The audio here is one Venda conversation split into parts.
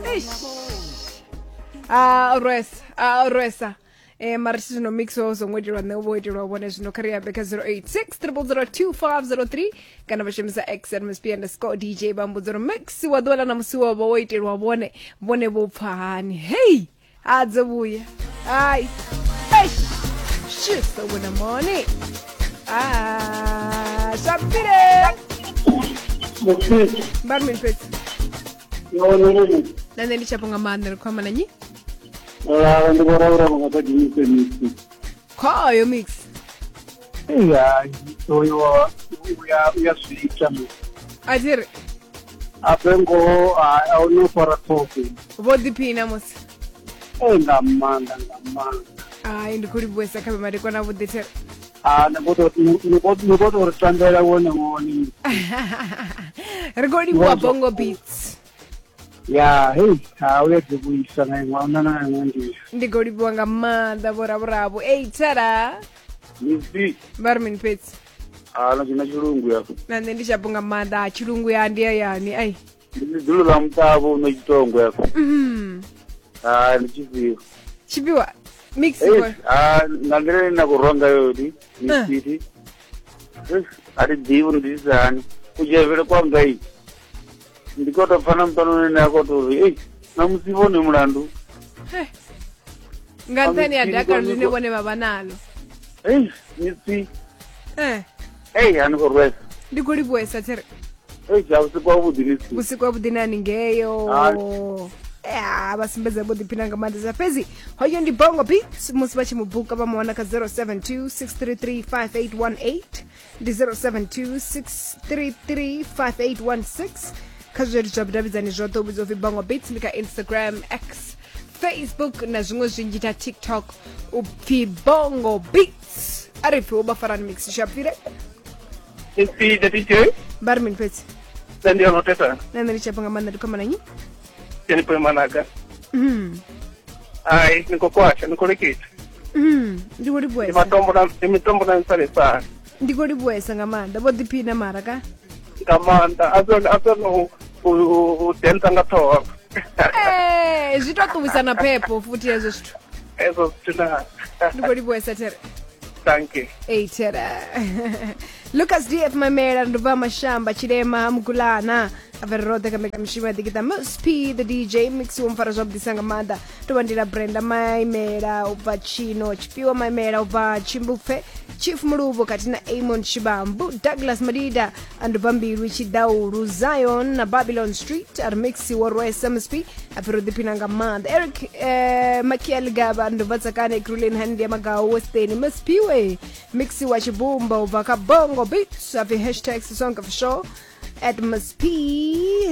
Eish. A rwesa, a rwesa. Eh mara tshi zwino mix wo songo itelwa nṋe wo itelwa vhone zwino kha ri ambe kha 086 0002503 kana vha shumisa x msp underscore dj vha mbudza uri mix wa ḓuvha ḽa ṋamusi wo vha wo itelwa vhone vhone vho pfa hani hei a dzo vhuya hai eish shisa wena moni ah shapile vha ri mini fhedzi na nṋe ndi tshapo nga maanḓa ri khou amba na nnyi ndi vho raura vha nga ḓa dzhenise mix khoyo mix eya oyo uya uya zwi ita a thi ri ape ngoho a u no fara ṱhoho vho ḓiphina musi e nga maanḓa nga maanḓa hai ndi khou livhuwesa kha vhemadekwana vhuḓi there a ni khou tou ri tambela wone wone ri khou livhuwa bongo beats ya hei ha u ya ḓivhuisa nga iṅwe na na iṅwe nḓila ndi khou livhuwa nga maanḓa vhoravhuravo ei tara misi vha ri mini fhedzi a na dzhena tshilungu ya na nṋe ndi shapo nga maanḓa tshilungu ya ndi hayani ai ndi ḽidzulo ḽa muṱavho no tshitongo ya ha ndi tshifhiwa tshifhiwa mix ha nga nḓila ine na khou rwa ngayo ni misiti a thi ḓivhi uri ndi itisa hani kudzhevhele kwanga i ndi khou tou pfa na muṱanuni ane a khou tou ri ei ṋamusi vhone mulandu nga nṱhani ya dakalo ḽine vhone vha vha nalo ei misi ei a ni khou rwesa ndi khou livhuwesa there ei ja vhusiku havhuḓi misi vhusiku havhuḓi na haningeo ya vha sumbedza vho ḓiphina nga maanḓesa fhedzi hoyo ndi bongo beats musi vha tshi mu buka vha mu wana kha 072 633 5818 ndi 0726335816 kha zwileludzi zwa vhudavhidzani zwoṱhe u vhidzwa upfi bongo beats ndi kha instagram, x, facebook na zwiṅwe zwinzhi na tiktok u pfi bongo beats. A ri pfi wo vha farani mix shapfile. Ipfi the DJ. Vha ri mini fhedzi? Nṋe ndi yono tesa. Na nṋe ndi tshapo nga maanḓa ndi khou amba na nnyi? Jennifer Managa. Ai, ni khou kwasha, ni khou leketa. Ndi khou Ndi livhuwesa. matombo na ndi mitombo na nsalesala. Ndi khou livhuwesa nga maanḓa vho ḓiphina mara ka. Nga maanḓa a zwo a zwo u dentsa nga ṱhoho. Eh, zwi to ṱuwisa na phepho futhi hezwo zwithu. Hezwo zwithu na. Ndi khou livhuwesa there. Thank you. Ei there. Lucas DF Mamela ndo bva Mashamba Tshilema Mugulana a ri roṱhe kha mbekanyamushumo ya ḓikiṱa Mus P the DJ mix wo mfara zwavhuḓisa nga maanḓa ndo vha ndila Brenda Maimela u bva Tshino Tshifhiwa Maimela u bva Tshimbupfe Chief Muluvho khathihi na Amon Shibambu Douglas Madida ando bva Mbilwi Tshidaulu Zion na Babylon Street a ri mix wo rwesa Mus P a pfi ro ḓiphina nga maanḓa Eric Makiel Gaba ando bva Tsakane Ekurhuleni Handi ya Magau Western Mus P we mix wa tshibumba u bva kha Bongo Beats a pfi hashtag Sisonke for sure at Ms P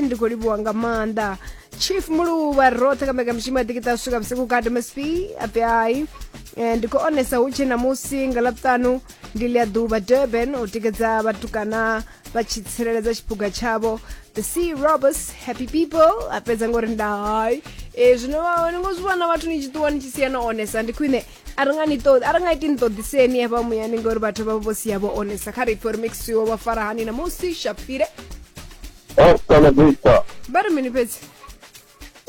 ndi khou livhuwa nga maanḓa Chief Muluvha roṱhe kha mbekanyamushumo ya ḓikiṱa swika vhusiku kati Ms P a pfi hai. Ndi khou onesa hu tshe namusi nga ḽavhuṱanu ndi ḽia ḓuvha Durban u tikedza vhatukana vha tshi tsireledza tshiphuga tshavho the sea robbers happy people a fhedza ngori nda hai. Zwino ni ngo zwi vhona vhathu ni tshi ṱuwa ni tshi sia no onesa ndi khwine a ri nga ni ṱoḓi a ri nga iti ni ṱoḓiseni hafha muyani ngori vhathu vha vho sia vho onesa kha ri pfe uri mixiwo vha fara hani namusi shapfile. Hasta la vista. Vha ri mini fhedzi?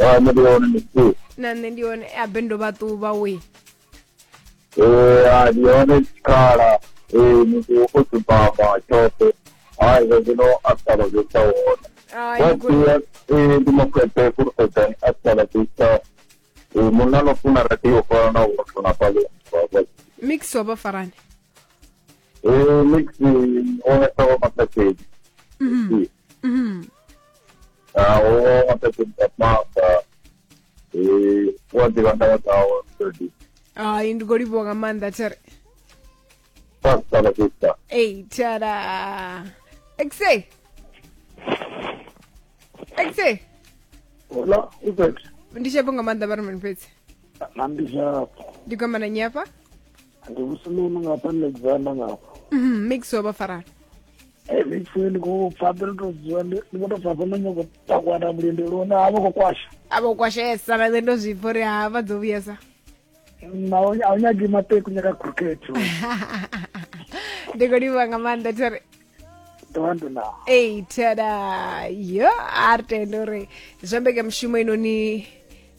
Ah, nṋe ndi hone misi. Na nṋe ndi hone a bendo vha ṱuvha we. Ah, ndi hone tshikhala. Muthu o dzumbama tshoṱhe. Hai, zwa zwino hasta la vista hone. Ai, Wa ndi khou- sia, ndi makwete fulufhedzani hasta la vista. Munna no funa radio fana na u funa pale. Mix wa vha farani? Mix one sa wa matakedi. Ah, o matakedi ka mapa. Wa ḓivha ndavha dzawe already. Ai, ndi khou livhuwa nga maanḓa there. Hasta la vista. Ei, tada. Exe. Exe. Hola, Ubet. Ndi tshapo nga maanḓa vha ri mini fhedzi? Na ndi tshapo. Ndi khou amba na nnyi hafha? Ndi vhusulunu nga hafha Alexander nga hafha. Mix wa vha farani. Mix ndi khou pfa ndo to dzula ndi khou tou pfa hafha no nyago takuwa mulindeloni ha vha khou kwasha. A vho kwashesa na nṋe ndo zwi pfa uri ha vha dzo vhuyesa. Na a u nyagi maṱeku nyaka cricket. Ndi khou livhuwa nga maanḓa there. Ndo vha ndo na. Ei tada yo a ri tende uri zwa mbekanyamushumo inoni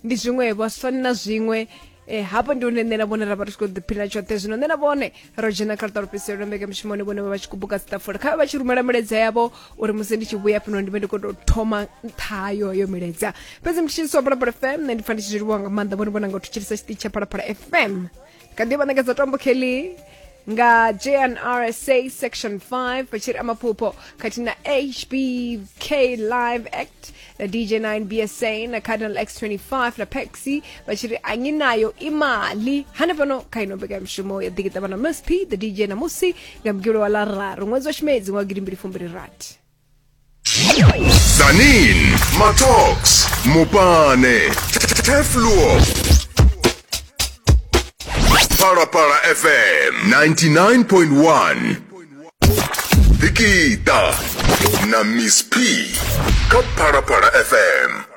ndi zwiṅwevho a zwi fani na zwiṅwe. Hafho ndi hune nṋe na vhone ra vha ri tshi khou ḓiphina tshoṱhe. Zwino nṋe na vhone ro dzhena kha luṱa lufhiselo lwa mbekanyamushumo, vhone vha vha tshi khou buka dziṱafula, kha vhe vha tshi rumela milaedza yavho uri musi ndi tshi vhuya fhano ndi vhe ndi khou tou thoma nṱha hayo milaedza. Fhedzi mutshilisi wa Phalaphala FM, nṋe ndi pfa ndi tshi zwi livhuwa nga maanḓa vhone vhona nga u thetshelesa tshiṱitshi tsha Phalaphala FM. Kha ḓi vha ṋekedza tombo kelly nga JNRSA section 5 vha tshi ri amaphupho, khathihi na HBK Live Act na DJ 9 BSA na Cardinal X25 na Pexi vha tshi ri anginayo imali hanefhano kha ino mbekanyamushumo ya ḓikiṱavha na Miss P the DJ na musi nga mugivhelo wa ḽararu ṅwedzi wa tshimedzi ṅwaha 2026. Zanin, Matox, Mupane, Tefluo. Parapara FM 99.1. Dikita na Miss P. Ka Parapara FM.